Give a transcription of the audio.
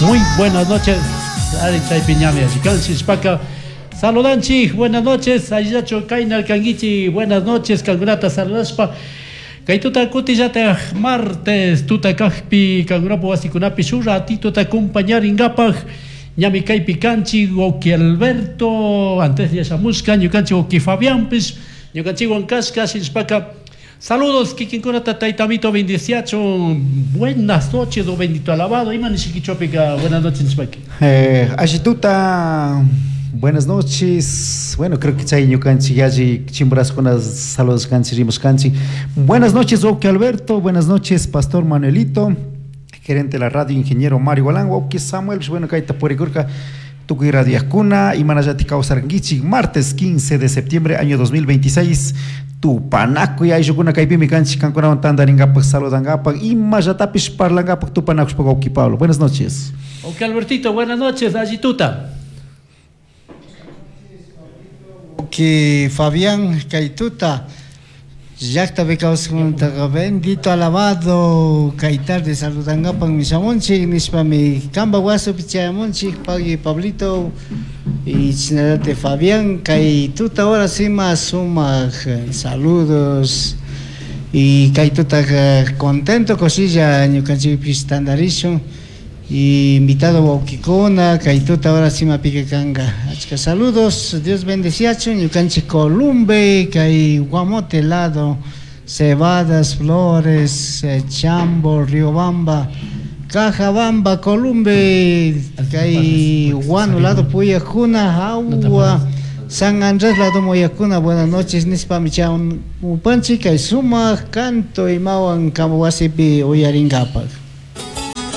Muy buenas noches. Ari chaypi ñami alli kan shishpaka saludanchik. Buenas noches. Allillachu kaynal kankichik. Buenas noches. Kankunata saludashpa. Kay tuta kutillataj martes tuta kajpi kankunapa wasikunapi shuk ratituta acompañarinkapak ñami kaypi kanchik wawki Alberto antes yashamushka ñukanchik wawki Fabianpish ñukanchikwan kashka shinashpaka saludos kikinkunata tayta amito bendiciachun. Buenas noches o bendito alabado. Ima nishikichopika buenas noches nishpaka. Alli tuta, buenas noches. Bueno, creo que chay ñukanchik yalli chimbraskuna saludashkanchik rimashkanchik. Buenas noches, wawki Alberto. Buenas noches, Pastor Manuelito, gerente de la radio, ingeniero Mario Gualán, wawki Samuel. Bueno, kayta purikurka tukuy radiakuna imanallatik kawsarkankichik. Martes 15 de septiembre año 2026 tupanakuy ayllukuna kaypimi kanchik kankunawan tantarinkapak saludankapak imallatapish parlankapak tupanakushpa wawki Pablo. Buenas noches. Ok, Albertito, buenas noches, alli tuta. Wawki Fabián kay tuta llaktapi kawsakkunataqa bendito alabado kay tarde saludankapak shamunchik nishpami kanpa wasipi chayamunchik pagui Pablito y chashnallate Fabián kay tuta ahora sí más sumak saludos y kay tutaka contento kushilla ñukanchikpish tantarishun y invitado wawkikuna kay tuta ahora sí mapika kanka achka saludos. Dios bendeciachun ñukanchik Columbe kay Guamote lado Cebadas, Flores, Chambo, Riobamba, Cajabamba, Columbe, kay Guano lado puyakuna, Agua, San Andrés lado muyakuna. Buenas noches nishpami chamupanchik kay sumak canto imawan wasipi uyarinkapak.